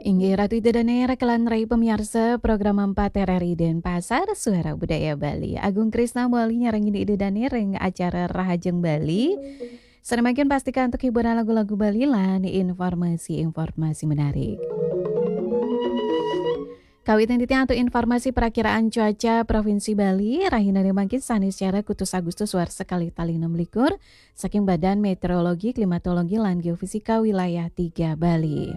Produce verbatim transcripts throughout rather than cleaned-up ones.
Inggih Ratu Ida Dane, raka lan rai pamiarsa program empat R R I Denpasar, Suara Budaya Bali. Agung Krisna mawali nyarengin Ida Dane ring acara Rahajeng Bali. Sane mangkin pastika antuk hiburan lagu-lagu Bali lan informasi-informasi menarik. Kawitan titiang antuk informasi perakiraan cuaca Provinsi Bali, rahinane mangkin Saniscara kutus Agustus warsa kalih tali enam likur, saking Badan Meteorologi, Klimatologi, lan Geofisika Wilayah tiga Bali.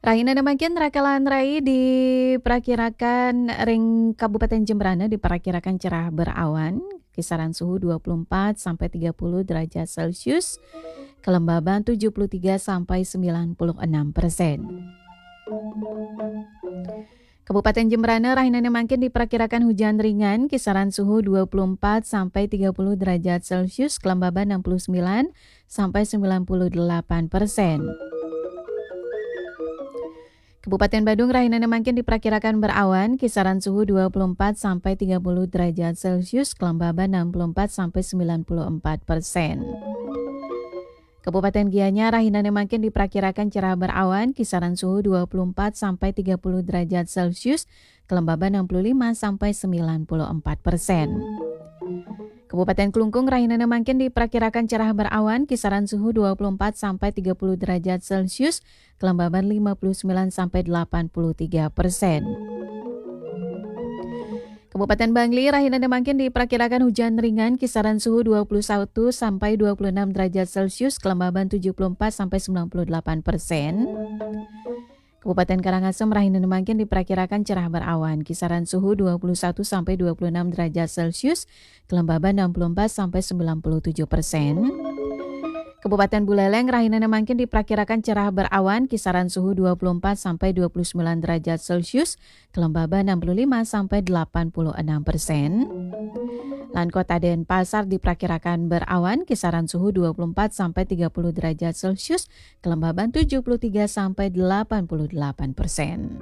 Rahinane mangkin raka lan rai diperakirakan ring Kabupaten Jembrana diperakirakan cerah berawan, kisaran suhu dua puluh empat sampai tiga puluh derajat Celcius, kelembaban tujuh puluh tiga sampai sembilan puluh enam persen. Kabupaten Jembrana rahinane mangkin diperakirakan hujan ringan, kisaran suhu dua puluh empat sampai tiga puluh derajat Celcius, kelembaban enam puluh sembilan sampai sembilan puluh delapan persen. Kabupaten Badung rahinane mangkin diperakirakan berawan, kisaran suhu dua puluh empat sampai tiga puluh derajat Celcius, kelembaban enam puluh empat sampai sembilan puluh empat persen. Kabupaten Gianyar rahinane mangkin diperakirakan cerah berawan, kisaran suhu dua puluh empat sampai tiga puluh derajat Celcius, kelembaban enam puluh lima sampai sembilan puluh empat persen. Kabupaten Klungkung rahinane mangkin diperakirakan cerah berawan, kisaran suhu dua puluh empat sampai tiga puluh derajat Celcius, kelembaban lima puluh sembilan sampai delapan puluh tiga persen. Kabupaten Bangli rahinane mangkin diperakirakan hujan ringan, kisaran suhu dua puluh satu sampai dua puluh enam derajat Celcius, kelembaban tujuh puluh empat sampai sembilan puluh delapan persen. Kabupaten Karangasem rahinane mangkin diperakirakan cerah berawan, kisaran suhu dua puluh satu sampai dua puluh enam derajat Celcius, kelembaban enam puluh empat sampai sembilan puluh tujuh persen. Kabupaten Buleleng rahinane mangkin diperakirakan cerah berawan, kisaran suhu dua puluh empat sampai dua puluh sembilan derajat Celcius, kelembaban enam puluh lima sampai delapan puluh enam persen. Lan Kota Denpasar diperakirakan berawan, kisaran suhu dua puluh empat sampai tiga puluh derajat Celcius, kelembaban tujuh puluh tiga sampai delapan puluh delapan persen.